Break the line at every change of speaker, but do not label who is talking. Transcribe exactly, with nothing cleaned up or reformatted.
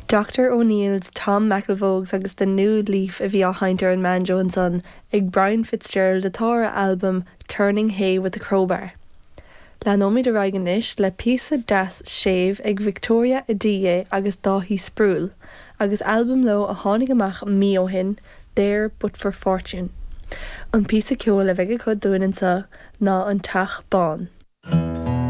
Dr O'Neill's Tom McElvogue's agus The New Leaf a bhí á sheinnt ar an mbanjo ansan ag Brian Fitzgerald atá ar albam Turning Hay with a Crowbar. Leanfaimid ar aghaidh anois le píosa deas séimh ag Victoria Adiye agus Dáithí Sproule, agus albam leo a tháinig amach mí ó shin, There But for Fortune. An píosa ceoil a bheidh acu dúinn anseo ná an Teach Bán.